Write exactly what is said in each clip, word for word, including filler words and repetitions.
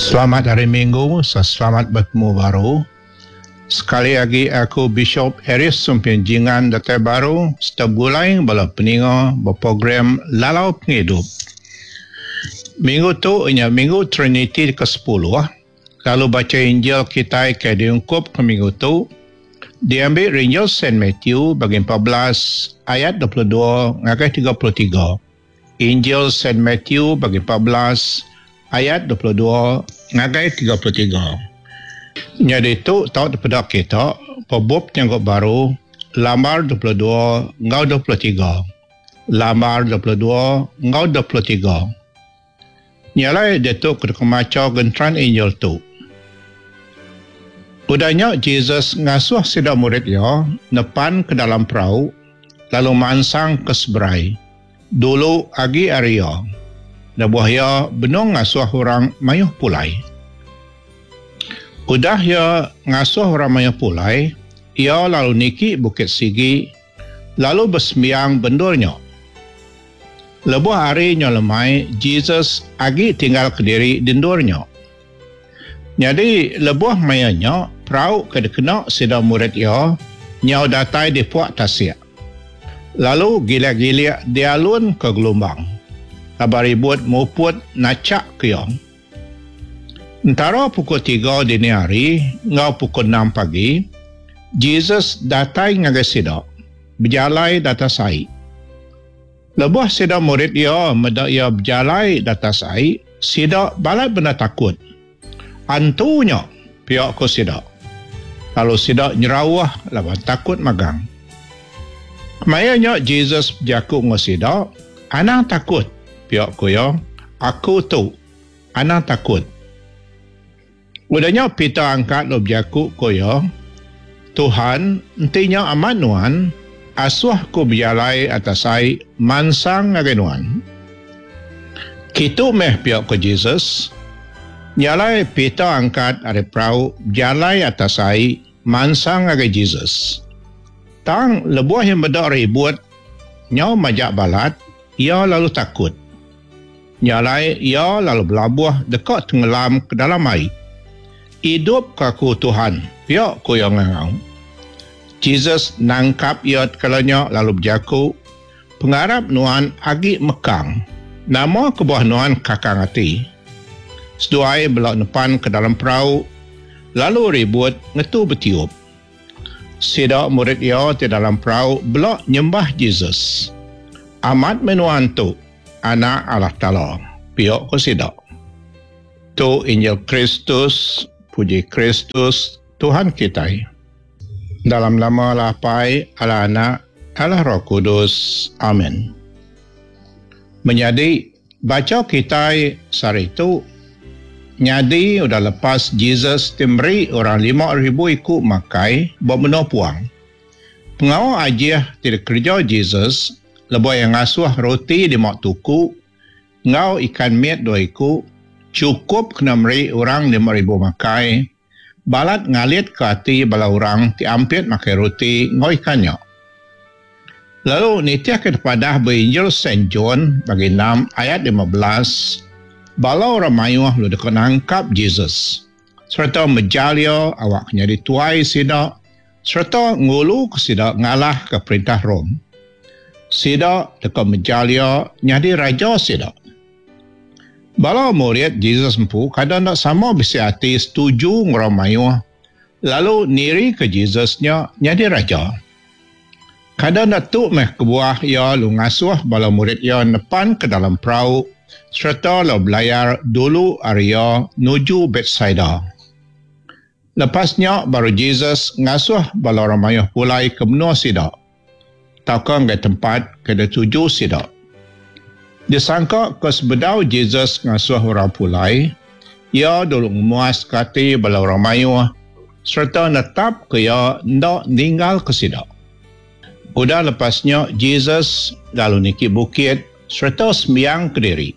Selamat Hari Minggu serta selamat betemu baru. Sekali agi aku Bishop Harris Sumpin Jingan datai baru serta begulai bala peninga ba program Lalau Pengidup. Minggu tu inya Minggu Triniti ke sepuluh lalu bacha Injil kitai ke diungkup ke minggu tu diambi ari Injil Saint Matthew bagi empat belas ayat dua puluh dua ngagai tiga puluh tiga. Injil Saint Matthew bagi empat belas ayat dua puluh dua ngagai tiga puluh tiga. Nyadi tu tau dipeda kita ba bup Nyanggup Baru lambar dua puluh dua enggau dua puluh tiga. Lambar dua puluh dua enggau dua puluh tiga. Nya alai diatu ke deka macha genteran Injil tu. Udah nya Jesus ngasuh sida murid iya nepan ke dalam perau lalu mansang ke seberai dulu agi ari iya. Lebuh iya benung ngasuh orang mayuh pulai. Udah iya ngasuh orang mayuh pulai, iya lalu niki bukit sigi lalu besembiang bendur nya. Lebuh hari nya lemai, Jesus agi tinggal kediri di endur nya. Nyadi lebuh maya nya, perau ke dikena sida murid iya nyau datai di puak tasik. Lalu gilik-gilik dialun ke gelumbang. Laban ribut muput nachak ke iya. Entara pukul tiga dini hari enggau pukul enam pagi, Jesus datai ngagai sida, bejalai datas ai. Lebuh sida murid iya meda iya bejalai datas ai, sida balat bendar takut. Antu nya, pia ko sida. Lalu sida nyerauh laban takut magang. Maya nya Jesus bejaku enggau sida, Anang takut, pia ko iya, Aku tu, anang takut. Udah nya Peter angkat lalu bejaku ko iya, Tuhan, enti nya amat nuan, asuh aku bejalai atas ai mansang ngagai nuan. Kitu meh pia ko Jesus. Nya alai Peter angkat ari perau bejalai atas ai mansang ngagai Jesus. Tang lebuh iya meda ribut nyau majak balat, iya lalu takut. Nya alai iya lalu belabuh deka tenggelam ke dalam ai. Idup ke aku Tuhan, pia ku iya ngangau. Jesus nangkap iya tekala nya lalu bejaku, Pengarap nuan agi mekang. Nama kebuah nuan kakang ati? Seduai bela nepan ke dalam perau, lalu ribut ngetu betiup. Sida murid iya ti dalam perau bela nyembah Jesus. Amat meh nuan tu, Anak Allah Taala, pia ku sida. Tu Injil Kristus, puji Kristus, Tuhan kitai. Dalam nama Allah Apai, Allah Anak, Allah Roh Kudus. Amen. Menyadi, bacha kitai sehari tu nyadi udah lepas Jesus ti meri orang lima ribu iku makai ba menua puang. Pengawa ajih ti dikereja Jesus lebuh iya ngasuh roti lima tuku enggau ikan mit dua iku chukup kena meri orang lima ribu makai, balat ngalitka ati bala orang ti ampit makai roti enggau ikan nya. Lalu nitihka dipadah ba Injil Saint John bagi enam ayat lima belas, bala orang mayuh lalu deka nangkap Jesus sereta mejal iya awak nyadi tuai sida sereta nguluka sida ngalahka perintah Rome. Sida deka mejal iya nyadi raja sida. Bala murid Jesus empu kada enda sama bisi ati setuju enggau orang mayuh lalu nirika Jesus nya nyadi raja. Kada enda tu meh kebuah iya lalu ngasuh bala murid iya nepan ke dalam perau sereta lalu belayar dulu ari iya nuju Betsaida. Lepas nya baru Jesus ngasuh bala orang mayuh pulai ke menua sida tauka ngagai tempat ke dituju sida. Disangka ke sebedau Jesus ngasuh orang pulai, iya dulu ngemuaska ati bala orang mayuh sereta netapka iya enda ninggalka sida. Udah lepas nya Jesus lalu niki bukit sereta sembiang kediri.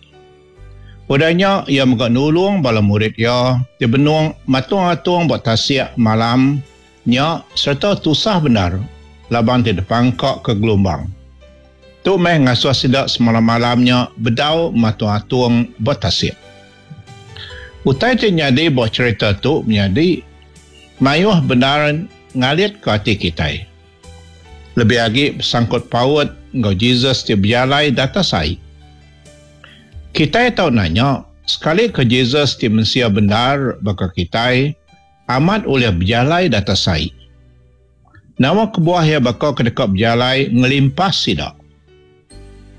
Udah nya iya mega nulung bala murid iya ti benung matung-atung ba tasik malam nya sereta tusah bendar laban ti dipangka ke gelumbang. Tu meh ngasuh sida semalam-malam nya bedau matung-atung ba tasik. Utai ti nyadi ba cherita tu menyadi mayuh bendar ngalit ke ati kitai. Lebih agi besangkut paut enggau Jesus ti bejalai di atas ai. Kitai tau nanya, sekali ke Jesus ti mensia bendar baka kitai amat ulih bejalai di atas ai? Nama kebuah iya baka ke deka bejalai ngelimpas sida?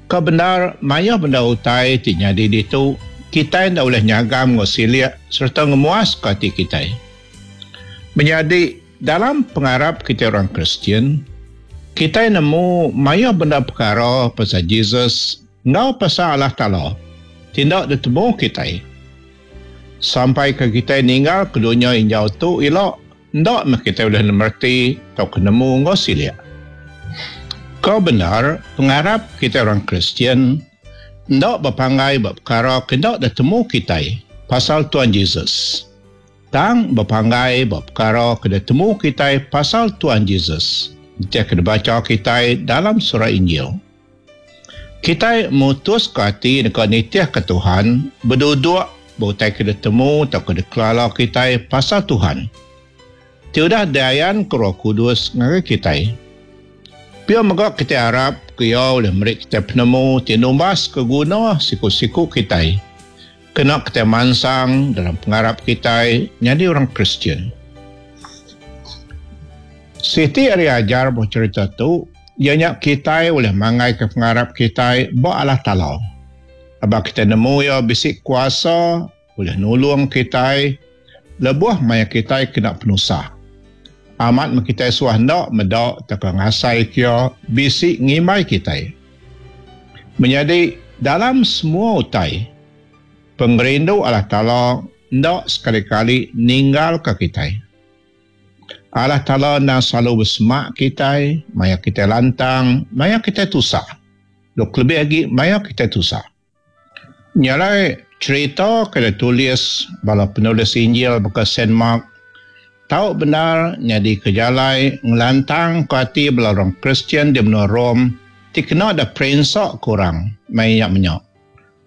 Ke bendar, mayuh bendar utai ti nyadi ditu kitai enda ulih nyagam enggau silik sereta ngemuaska ati kitai. Menyadi, dalam pengarap kitai orang Kristian, kitai nemu mayuh bendar pekara pasal Jesus enggau pasal Allah Taala ti enda ditemu kitai. Sampai ke kitai ninggalka dunya injau tu ila, enda meh kitai ulih mereti tauka nemu enggau silik. Ke bendar, pengarap kitai orang Kristian enda bepanggai ba pekara ke enda ditemu kitai pasal Tuan Jesus. Tang bepanggai ba pekara ke ditemu kitai pasal Tuan Jesus, nitih ke dibacha kitai dalam surat Injil. Kitai mutuska ati deka nitihka Tuhan beduduk ba utai ke ditemu tauka dikelala kitai pasal Tuhan ti udah diayanka Roh Kudus ngagai kitai. Pia mega kitai arap ke Iya ulih meri kitai penemu ti numbaska guna siku-siku kitai kena kitai mansang dalam pengarap kitai nyadi orang Kristian. Siti ari ajar ba cherita tu iya nya kitai ulih manggaika pengarap kitai ba Allah Taala. Aba kitai nemu Iya bisi kuasa ulih nulung kitai lebuh maya kitai kena penusah. Amat meh kitai suah enda meda tauka ngasaika Iya bisi ngimbai kitai. Menyadi, dalam semua utai, pengerindu Allah Taala enda sekali-kali ninggalka kitai. Allah Taala endang selalu besemak kitai maya kitai lantang, maya kitai tusah. Lalu kelebih agi maya kitai tusah. Nya alai, cherita ke ditulis bala penulis Injil baka Saint Mark tau bendar nyadika jalai ngelantangka ati bala orang Kristian di menua Rome ti kena da perinsa ke orang maya nya menya.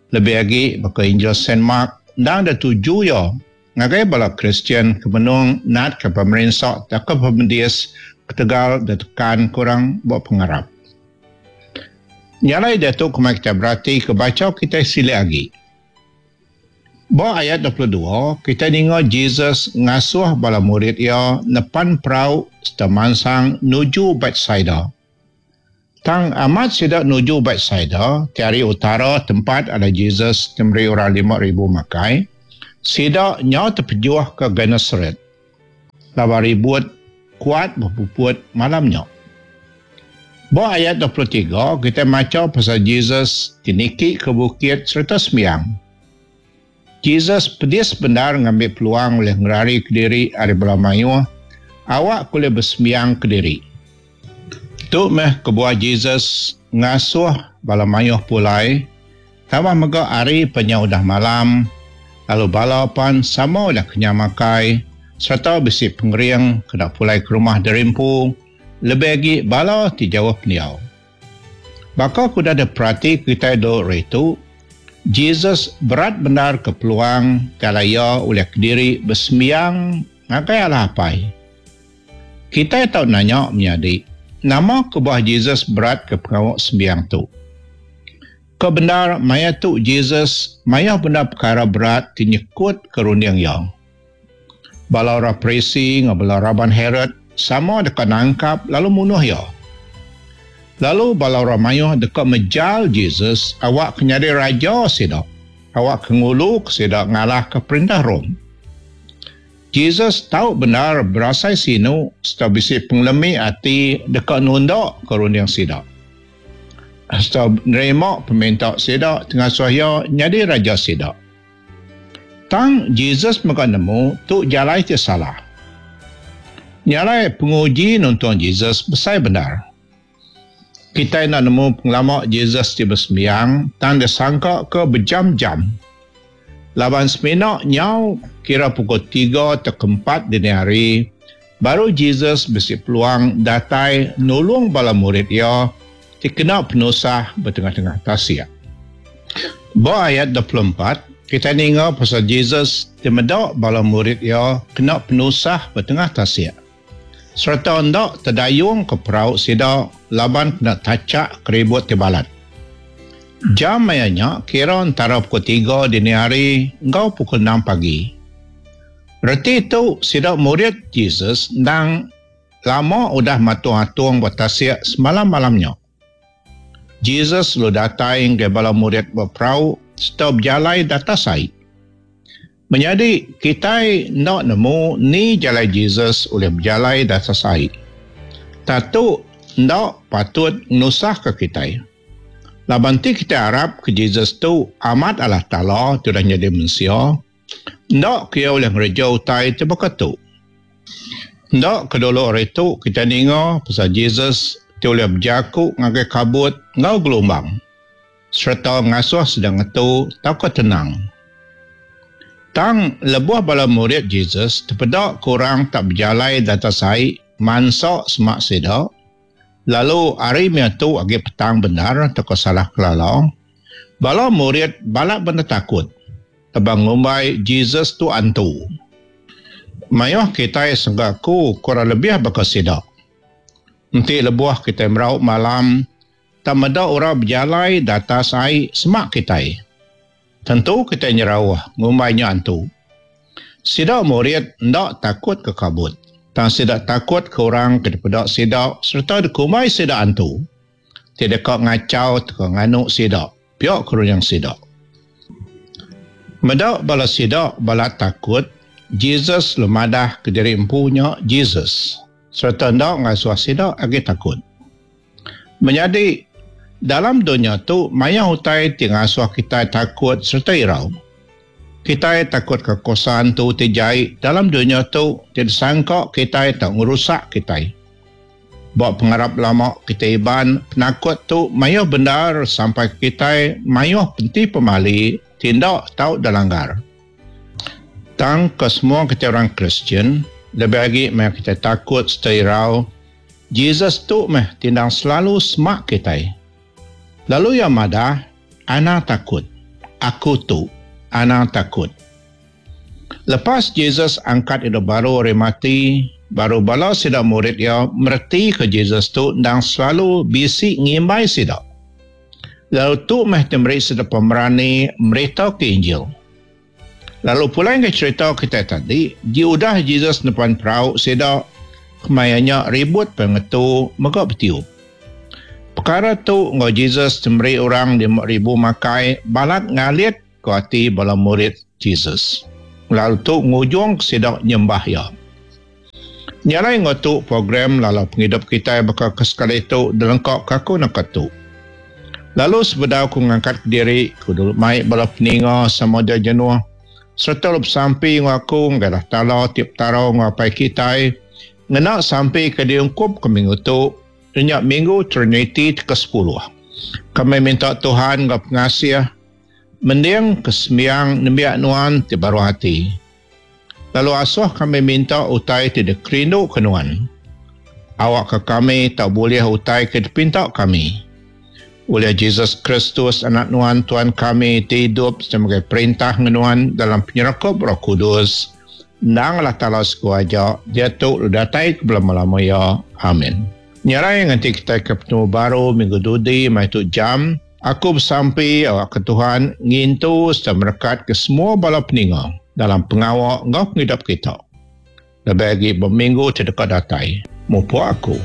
Lebih agi baka Injil Saint Mark endang da tuju iya ngagai bala Kristian ke benung natka pemerinsa tauka pemedis ketegal ditekanka orang ba pengarap. Nya alai diatu kemai kitai beratika bacha kitai silik agi. Ba ayat dua puluh dua, kitai ninga Jesus ngasuh bala murid iya nepan perau sereta mansang nuju Betsaida. Tang amat sida nuju Betsaida, ti ari utara tempat alai Jesus ti meri orang lima ribu makai, sida nyau tepejuh ke Genesaret laban ribut kuat bepuput malam nya. Ba ayat dua puluh tiga, kitai macha pasal Jesus ti niki ke bukit sereta sembiang. Jesus pedis bendar ngambi peluang ulih ngerarika diri ari bala mayuh awak ke ulih besembiang kediri. Tu meh kebuah Jesus ngasuh bala mayuh pulai, tambah mega hari penyau udah malam, lalu bala pan sama udah kenyang makai sereta bisi pengering kena pulai ke rumah diri empu, lebih agi bala ti jauh pendiau. Baka ke udah diperati kitai dulu ari tu, Jesus berat bendar ke peluang ti alai iya ulih kediri besembiang ngagai Allah Apai. Kitai tau nanya menyadi, nama kebuah Jesus berat ke pengawa sembiang tu? Ke bendar maya tu Jesus mayuh bendar pekara berat ti nyekut ke runding iya. Bala orang Parisi enggau bala raban Herod sama deka nangkap lalu munuh iya. Lalu bala orang mayuh deka mejal Jesus awak ke nyadi raja sida, awak ke nguluka sida ngalahka perintah Rome. Jesus tau bendar berasai sinu sereta bisi pengelemi ati deka nunda ke runding sida, sereta nerima peminta sida ti ngasuh iya nyadi raja sida. Tang Jesus mega nemu tu jalai ti salah. Nya alai penguji nuntung Jesus besai bendar. Kitai enda nemu pengelama Jesus ti besembiang tang disangka ke bejam-jam. Laban semina nyau kira pukul tiga tauka empat dini hari, baru Jesus bisi peluang datai nulung bala murid iya ti kena penusah ba tengah-tengah tasik. Ba ayat dua puluh empat, kitai ninga pasal Jesus ti meda bala murid iya kena penusah ba tengah tasik sereta enda tedayung ke perau sida laban kena tachak keribut ti balat. Jam maya nya kira entara pukul tiga dini hari enggau pukul enam pagi. Reti tu sida murid Jesus endang lama udah matung-atung ba tasik semalam-malam nya. Jesus lalu datai ngagai bala murid ba perau sereta bejalai datas ai. Menyadi, kitai enda nemu ni jalai Jesus ulih bejalai datas ai. Tang tu enda patut ngenusahka kitai. Laban ti kitai arap ke Jesus tu amat Allah Taala ti udah nyadi mensia, enda ke iya ulih ngereja utai ti baka tu. Enda ke dulu ari tu kitai ninga pasal Jesus ti ulih bejaku ngagai kabut enggau gelumbang sereta ngasuh sida ngetu tauka tenang. Tang lebuh bala murid Jesus tepeda ke orang tak bejalai datas ai mansa semak sida, lalu ari maya tu agi petang bendar tauka salah kelala, bala murid balat bendar takut laban ngumbai Jesus tu antu. Mayuh kitai sengka aku kurang lebih baka sida. Enti lebuh kitai merau malam, tang meda orang bejalai datas ai semak kitai, tentu kitai nyerauh ngumbai nya antu. Sida murid enda takut ke kabut, tang sida takut ke orang ke dipeda sida sereta dikumbai sida antu ti deka ngachau tauka nganu sida, pia ke runding sida. Meda bala sida balat takut, Jesus lalu madah ke diri empu nya Jesus sereta enda ngasuh sida agi takut. Menyadi, dalam dunya tu mayuh utai ti ngasuh kitai takut sereta irau. Kitai takut ke kuasa antu ti jai dalam dunya tu ti disangka kitai tau ngerusak kitai. Ba pengarap lama kitai Iban, penakut tu mayuh bendar sampai kitai mayuh penti pemali ti enda tau dilanggar. Tang ke semua kitai orang Kristian, lebih agi maya kitai takut sereta irau, Jesus tu meh ti endang selalu semak kitai. Lalu iya madah, Anang takut. Aku tu. Anang takut. Lepas Jesus angkat idup baru ari mati, baru bala sida murid iya meretika Jesus tu endang selalu bisi ngimbai sida. Lalu tu meh ti meri sida pemerani meritaka Injil. Lalu pulai ngagai cherita kitai tadi, ji udah Jesus nepan perau sida, kemaya nya ribut pengetu mega betiup. Perkara tu enggau Jesus ti meri orang lima ribu makai balat ngalit ke ati bala murid Jesus. Lalu tu ngujung ke sida nyembah iya. Nya alai enggau tu program lalau pengidup kitai baka ke sekali tu dilengka ke aku naka tu. Lalu sebedau ku ngangkat kediri, ku dulu mai bala peninga sama dia jenuh sereta lalu besampi enggau aku ngagai Allah Taala ti Petara enggau Apai kitai ngena sampi ke diungkup ke minggu tu nya Minggu Triniti ti ke sepuluh. Kami minta Tuhan enggau pengasih mending ke sembiang nembiak nuan ti baruh ati. Lalu asuh kami minta utai ti dikerindu ke nuan. Awakka kami tau bulih utai ke dipinta kami. Ulih Jesus Kristus anak nuan Tuhan kami ti idup sebagai perintah ngenuan dalam penyerakup Roh Kudus, endang Allah Taala siku aja, diatu lalu datai ke belama-lama iya. Amin. Nyarai nganti kitai ke betemu baru minggu dudi mai tu jam, aku besampi awakka Tuhan ngintu sereta merekat ke semua bala peninga dalam pengawa enggau pengidup kita. Lebih agi ba minggu ti deka datai. Mupuk aku.